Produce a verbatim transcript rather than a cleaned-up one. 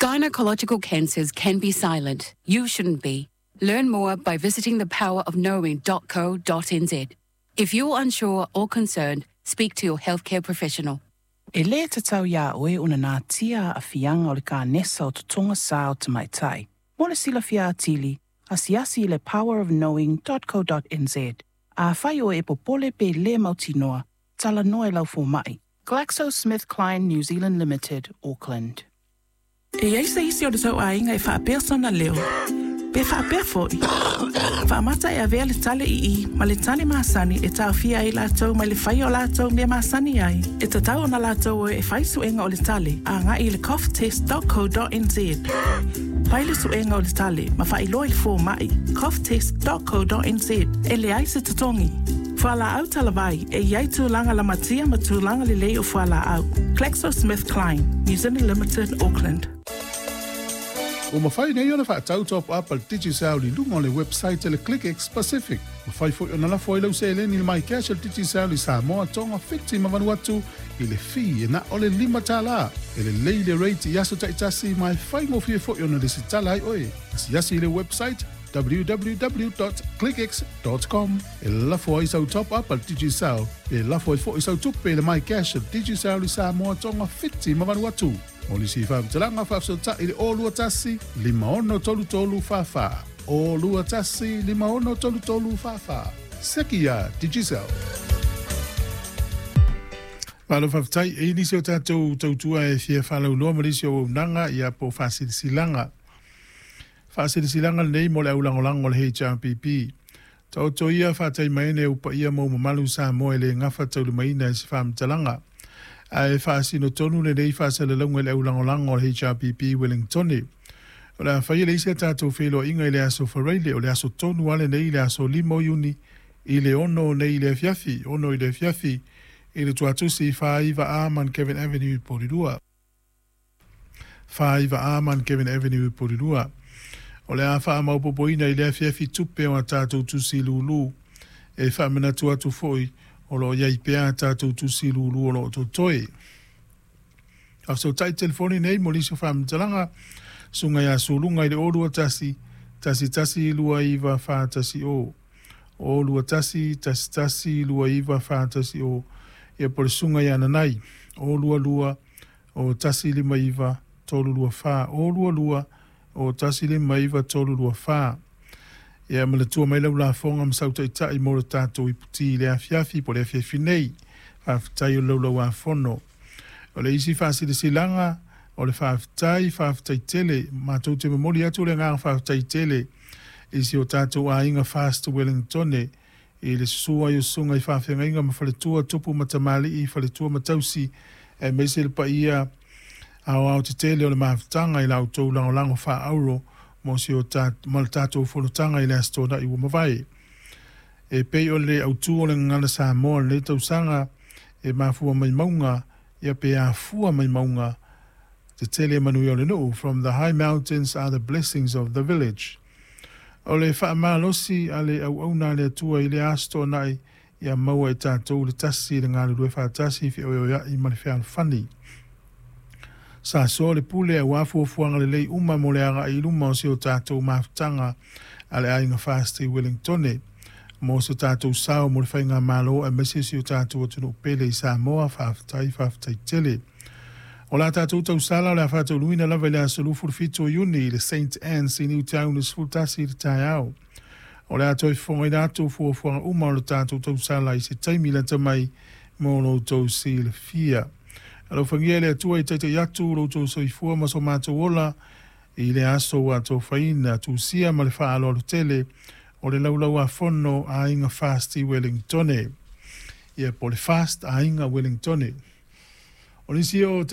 Gynecological cancers can be silent. You shouldn't be. Learn more by visiting the power of knowing dot co dot n z. If you're unsure or concerned, speak to your healthcare professional. E lē tatau iā oe ona natia aafiaga o le kanesa o totoga sā o tamaitai. Mo le silafia atili, asiasi i le power of knowing dot co dot n z. Afai oe e popole pe lē mautinoa, talanoa i lau fomaʻi. GlaxoSmithKline New Zealand Limited, Auckland. E i ai se isi o le tou aiga e faapea sona leo, pe faapea foi. Faamata e avea le tale ii ma le tale masani e taofia ai latou mai le faia o latou mea masani ai. E tatau ona latou o e fai suega o le tale agai i le cough test dot co dot n z. Fai le suega o le tale ma faailoa i le fomaʻi cough test dot co dot n z e leai se totogi. Fualaau talavai e iai tulaga lamatia ma tulaga lelei o fualaau. GlaxoSmithKline, New Zealand Limited, Auckland. Ua mafai nei ona faatau top up a le Digicel i luga o le website a le ClickX Pacific. Mafai foi ona lafo ai lau seleni i le MyCash a le Digicel i Samoa, Tonga, Fiti ma Vanuatu i le fee e na o le lima tālā. E lelei le rate i aso taitasi ma e faigofie foi ona lesitala ai oe. Asiasi i le website w w w dot clickx dot com e lafo ai sau top up a le Digicel pe lafo ai foi sau tupe i le MyCash a le Digicel i Samoa, Tonga, Fiti ma Vanuatu. Mo nisi faamatalaga faafesootai i le o lua tasi, lima ono tolu tolu fa fa. O lua tasi, lima ono tolu tolu fa fa. Seki ia Digicel. Malo faafetai e nisi o tatou tautua e fia faalauloa ma nisi o auaunaga ia po o faasilasilaga. Faasilasilaga lenei mo le aulagolago o le H R P P. Taoto ia faataimaene e upaia mo mamalu Samoa e le gafa taulimaina e se faamatalaga. Ae faasino tonu lenei faasalalauga i le aulagolago o le H R P P Wellingtone. O le a faia le isi a tatou feiloaiga i le aso Faraile, o le aso tonu a lenei i le aso lima o Iuni i le ono nei i le afiafi, ono i le afiafi, i le tuatusi whaiva A Mount Kevin Avenue i Porirua. Whaiva A Mount Kevin Avenue i Porirua. O le a whaamaupopoina i le afiafi tupe o a tātou tusi lulu. E whaamanatu atu foi o lo iai pea a tātou tusi lulu o lo totoe. A so tai telefoni nei mo liso whaamatalanga, sunga ia sulunga i le olua tasi, tasi tasi lua iwa wha tasi o. O lua tasi, tasi tasi lua iwa wha tasi o. Ia po le sunga ia nanai, o lua lua, o tasi lima iwa, tolu lua wha, o lua lua, o tasi lima iwa, tolu lua wha. Ia ma le tua mai lau lafonga ma sautaitai mo le tātou iputi i le afiafi, po le afiafi nei, whaafetai o lau lau afono. O le isi whaasilasilanga, o le whaafetai, whaafetai tele, mātou te momoli atu le ngā whaafetai tele, isi o tātou ainga Fast Wellingtone, i le susua i o sunga i whaafengainga ma whaletua tupu matamali i whaletua matausi, e meise le paia ao ao te tele o le mafutanga i lau tau langolango wha auro, mo si o tā, mo le tātou folotanga i le astona i uamawai. E pei o le autu o le ngana Samoa le tausanga e mafua mai maunga, ia pe afua mai maunga, te tele manu i o le nuu, from the high mountains are the blessings of the village. O le whaamalosi a le au auna le atua i le astona i ia maua e tātou le tasi le ngā lue whaatasi fi oe oea i ma le whealofani. Sa so le pule au afuafuanga le lei uma mo le aga i luma o se o tātou mafutanga a le ainga Fast i Wellingtone. Mo se tātou sao mo le whainga malo a mese se o tātou atunu pele i Samoa whaafetai whaafetai tele. O la tātou tausala o le a whātou luina lava i le aso lufu le whitu o Iuni i le Saint Anne's i Newtown i sefulutasi i le taeao. O le a toi whonga i rātou fuafuanga uma o le tātou tausala i se taimi lata mai mo lo tau si le fia. Alofangia le atua i taitai atu lo tau soifua ma so mātou ola i le aso ua tau whaina tusia ma le whaaloalo tele o le laulau a fono a inga Fast i Wellingtone. Ia po le Fast a inga Wellingtone. O nisi o